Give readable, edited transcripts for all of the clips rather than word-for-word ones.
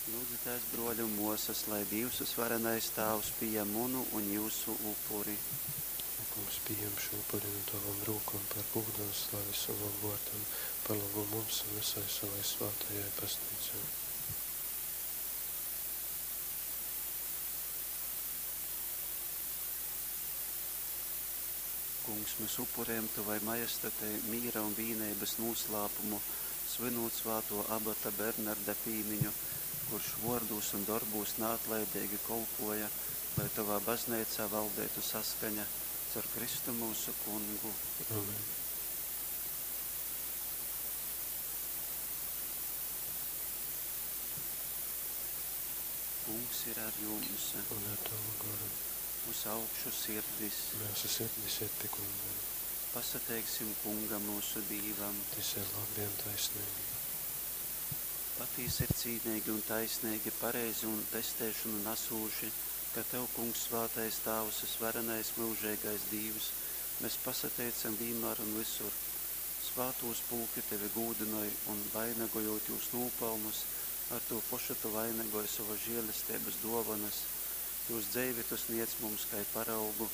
Lyudzitēs, brōli un mōsas, lai Dīvs vysvarenais Tāvs pījam munu un jyusu upuri. Kungs pījem šū upuri nu tovom rūkom par gūdu un slavi sovam vōrdam, par lobu mums un vysai sovai svātajai Bazneicai. Kungs, mēs upurējam Tovai Majestatei mīra un vīneibas nūslāpumu, svynūt svātō abata Bernarda pīmiņu, kurš vōrdūs un dorbūs naatlaideigi kolpōja, lai Tovā Bazneicā valdeitu saskaņa. Caur Kristu myusu Kungu. Amen. Kungs ir ar jums. Un ar tavu goru. Uz augšu sirdis. Myusu sirdis ir pi Kunga. Pasateiksim Kungam myusu Dīvam. Tys ir labi un taisneigi. Patīsi ir cīneigi un taisneigi, pareizi un pesteišonu nasūši, ka Tev, Kungs, svātais Tāvs, vysvarenais myužeigais Dīvs, mēs pasateicam vīnmār un vysur. Svātūs pulki Tevi gūdynoj un, vainagojūt jūs nūpalnus, ar tū pošu Tu vainagoj sovas žēlesteibas dōvonas. Jūs dzeivi Tu sniedz mums kai paraugu,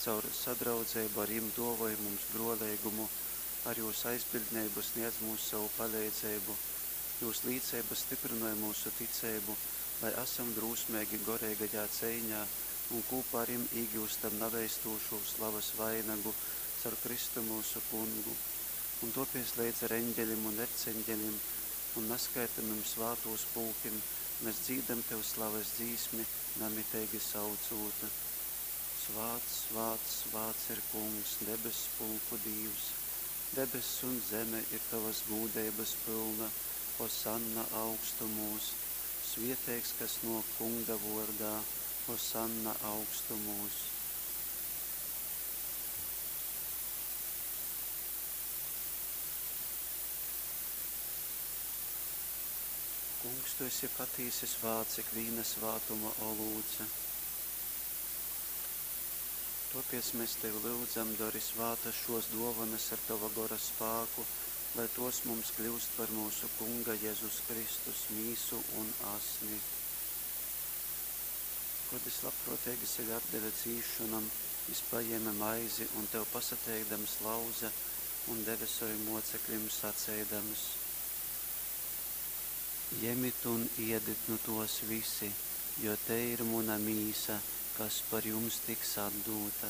caur sadraudzeibu ar jim dōvoj mums brōleigumu, ar jūs aizbiļdneibu sniedz mums sovu paleidzeibu. Jūs līceiba styprynoj myusu ticeibu, lai asam drūsmeigi goreigajā ceiņā un kūpā ar jim īgyustam naveistūšū slavas vainagu caur Kristu myusu Kungu. Un topies leidz ar eņģeļim un erceņģeļim un naskaitamim svātūs pulkim mēs dzīdam Tev slavas dzīsmi, namiteigi saucūt. Svāts, svāts, svāts ir Kungs, debess pulku Dīvs. Debess un zeme ir Tavas gūdeibas pylna. Hosanna augstumūs. Svieteigs, kas nōk Kunga vōrdā. Hosanna augstumūs. Kungs, Tu esi patīsi svāts, ikvīna svātuma olūts. Topiec mēs Tevi lyudzam, dori svātas šos dōvanas ar Tava gora spāku, lai tos mums kļūst par mūsu Kunga Jēzus Kristus mīsu un asni. Kod jis labprōteigi sevi atdeve cīsšonom, jis pajēme maizi un Tev pasateikdams lauze un deve sovim mōceklim saceidams. Jemit un iedit nu tōs visi, jo tei ir muna mīsa, kas par jums tiks atdūta.